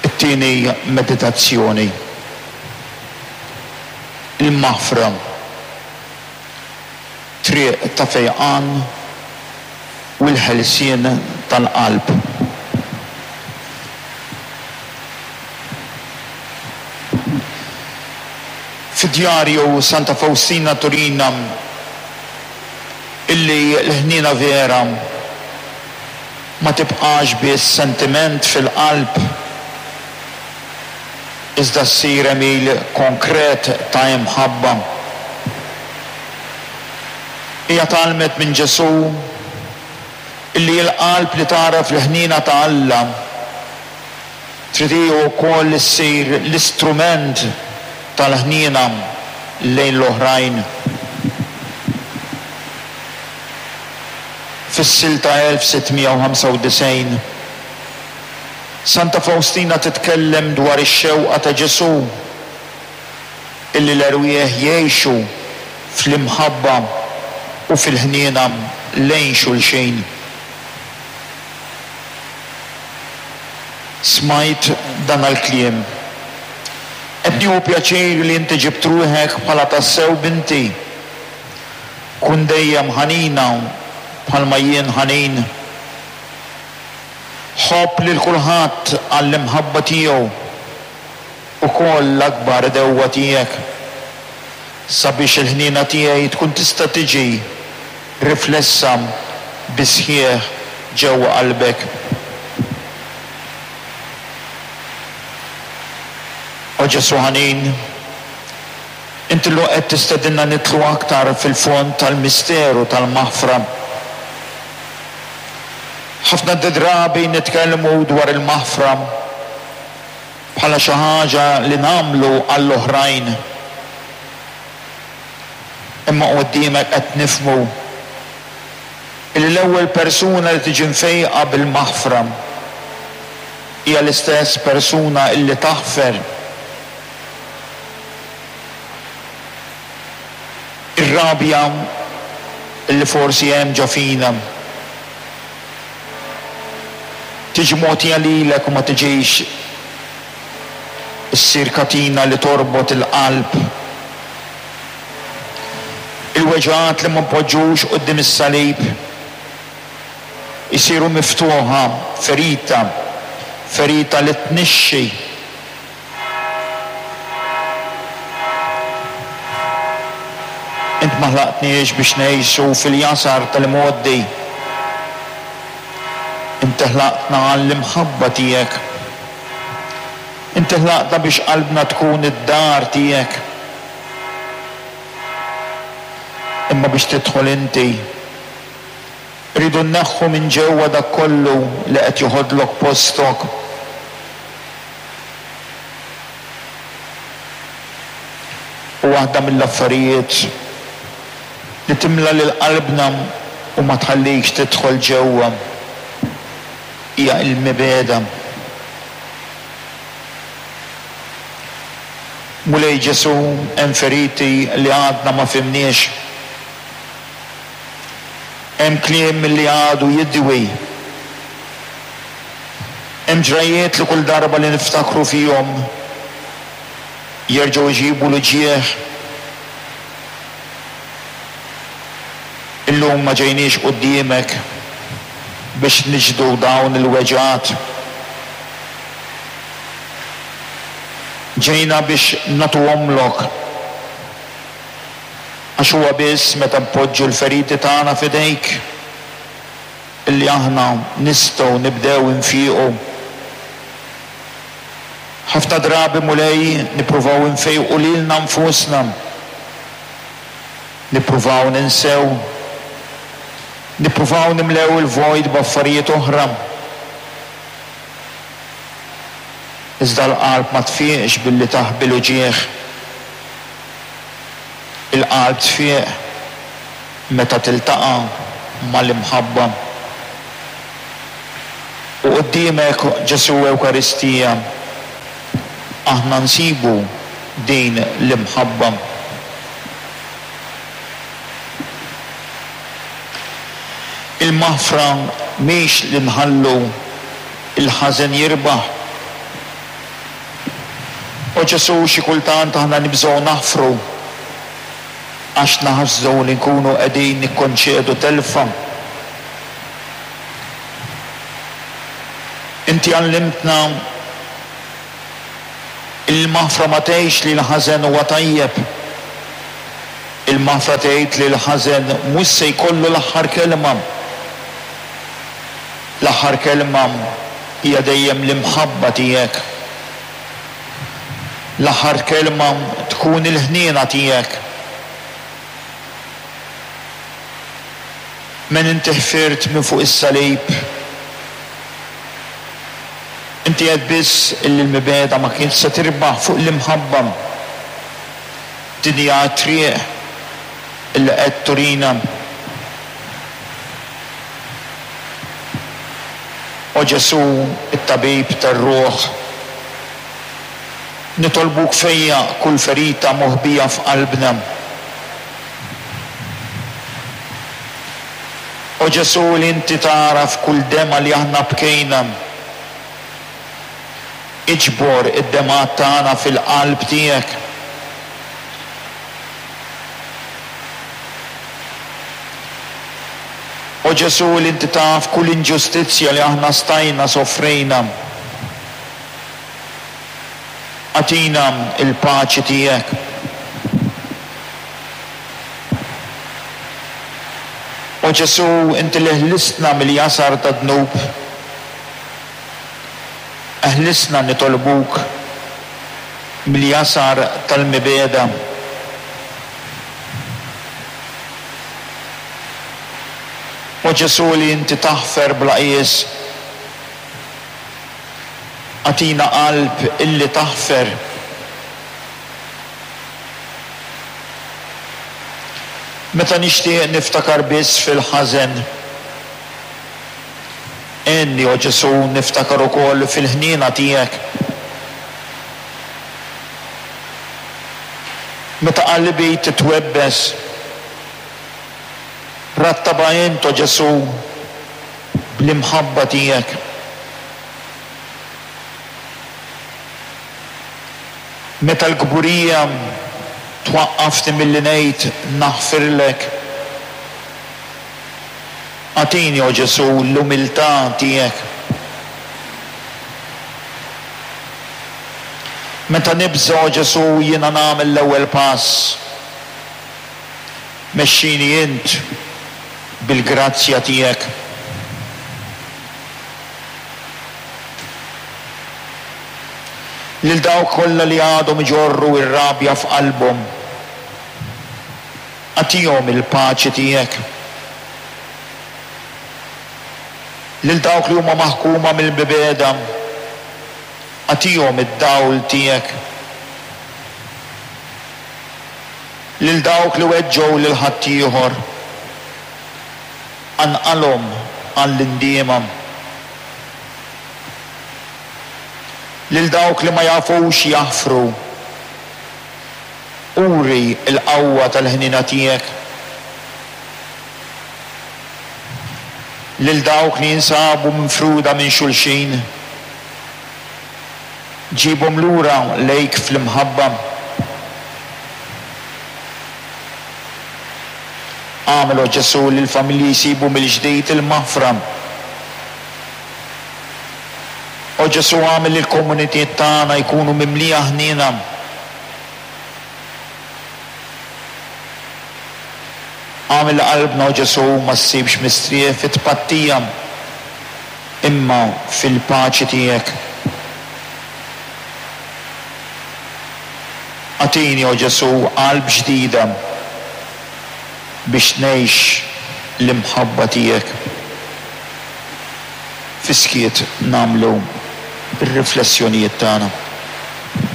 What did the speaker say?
It-tieni meditazzjoni, Il-maħfra, triq ta' fejqan u l-ħelsien tal-qalb. Fid-djarju Santa Fawstina turina illi l-ħniena vera ma tibqax biss sentiment fil-qalb, iżda ssir għemil konkret ta' imħabba. Hija tgħallmet minn Ġesù illi l-qalb li tagħraf l-ħniena ta' Alla trid hi wkoll issir l-istrument tal-ħniena lejn l-oħrajn. Fis-silta 1695, Santa Fawstina titkellem dwar ix-xewqa ta' Ġesù illi l-erwieħ jgħixu fl-imħabba u fil-ħniena lejn xulxin. Smajt dan l-kliem. Qed nieħu pjaċir li inti ġibt ruħek bħala tassew binti. Kun dejjem ħanina bħalma jien ħanin. Ħobb lil kulħadd għall-imħabba tiegħu, ukoll l-akbar għedewwa tiegħek, sabiex il-ħniena tiegħi tkun tista' tiġi riflessa bis-sħiħ ġewwa qalbek. O Ġesù ħanin, inti llum qed tistedinna nidħlu aktar fil-fond tal-misteru tal-maħfra. Ħafna drabi nitkellmu dwar il-maħfra bħala xi ħaġa li nagħmlu għall-oħrajn. Imma quddiemek qed nifhmu illi l-ewwel persuna li tiġi mfejqa bil-maħfra hija l-istess persuna illi taħfer. Ir-rabja illi forsi hemm ġo fina tiġi mogħtija lilek u ma tiġix issir katina li torbot il-qalb. Il-weġgħat li ma npoġġux quddiem is-salib isiru miftuħa, ferita, ferita li tnixxi. Int ma ħlaqtniex biex ngħixu fil-jasar tal-imgħoddi. Inti ħlaqtna għall-imħabba tiegħek. Inti ħlaqtna biex qalbna tkun id-dar tiegħek. Imma biex tidħol inti, irridu nneħħu minn ġewwa dak kollu li qed joħodlok postok. U waħda mill-affarijiet li timla lil qalbna u ma tħallikx tidħol ġewwa hija l-mibegħda. Mulej Ġesù, hemm feriti li għadna ma fhimniex. Hemm kliem li għadu jidwi. Hemm ġrajjiet li kull darba li niftakru fihom jerġgħu jġibu l-uġigħ. Illum ma ġejniex quddiemek biex niġdu dawn il-weġgħat. Ġejna biex nagħtuhomlok. Għax huwa biss meta npoġġu l-feriti tagħna f'idejk illi aħna nistgħu nibdew infiequ. Ħafna drabi, Mulej, nippruvaw infejqu lilna nfusna. Nippruvaw ninsew. Nippruvaw nimlew il-vojt b'affarijiet oħra. Iżda l-qalb ma tfieqx billi taħbi l-uġigħ. Il-qalb tfieq meta tiltaqa' mal-imħabba. U quddiemek, Ġesù Ewkaristija, aħna nsibu din l-imħabba. Il. Il-maħfra mhix li nħallu l-ħażen jirbaħ. O Ġesù, xi kultant aħna nibżgħu naħfru għax naħsdu li nkunu qegħdin nikkonċedu telfa. Inti għallimtna li l-maħfra ma tgħidx li l-ħażen huwa tajjeb. Il-maħfra tgħid li l-ħażen mhux se jkollu l-aħħar kelma. L-aħħar kelma hija dejjem l-imħabba tiegħek. L-aħħar kelma tkun il-ħniena tiegħek. Min inti ħfirt minn fuq is-salib. Inti għedt biss illi l-mibegħda ma kienx se tirbaħ fuq l-imħabba. Din hija t-triq illi qed turina. O Ġesù, it-tabib tar-ruħ, nitolbuk fejjaq kull ferita moħbija f'qalbna. O Ġesù li inti tagħraf kull demgħa li aħna bkejna, iġbor id-demgħat tagħna fil-qalb tiegħek. O Ġesù li inti taf kull inġustizzja li aħna stajna sofrejna, agħtina l-paċi tiegħek. O Ġesù, inti li ħlistna mill-jasar tad-dnub, eħlisna nitolbuk mill-jasar tal-mibegħda. O Ġesù li inti taħfer bla qies, agħtina qalb illi taħfer. Meta nixtieq niftakar biss fil-ħażen, għenni, o Ġesù, niftakar ukoll fil-ħniena tiegħek. Meta qalbi titwebbes, rattabha int, o Ġesù, bl-imħabba tiegħek. Meta l-kburija twaqqafni milli ngħid naħfirlek, agħtini, o Ġesù, l-umiltà tiegħek. Meta nibża', o Ġesù, jiena nagħmel l-ewwel pass. Mexxini int bil-grazzja tiegħek. Lil dawk kollha li għadhom iġorru r-rabja f'qalbhom, agħtihom il-paċi tiegħek. Lil dawk li huma maħkuma mill-mibegħda, agħtihom id-dawl tiegħek. Lil dawk li weġġgħu lil ħaddieħor, qanqalhom għall-indiema. Lil dawk li ma jafux jaħfru, uri l-qawwa tal-ħniena tiegħek. Lil dawk li jinsabu mifruda minn xulxin, ġibhom lura lejk fl-imħabba. Agħmel, o Ġesù, li l-familji jsibu mill-ġdid il-maħfra. O Ġesù agħmel li l-komunitiet tagħna jkunu mimlija ħniena. Agħmel li qalbna, o Ġesù, ma ssibx mistrieħ fit-tpattija, imma fil-paċi tiegħek. Agħtini, o Ġesù, qalb ġdida biex ngħix l-imħabba tiegħek. Fis-skiet nagħmlu r-riflessjonijiet tagħna.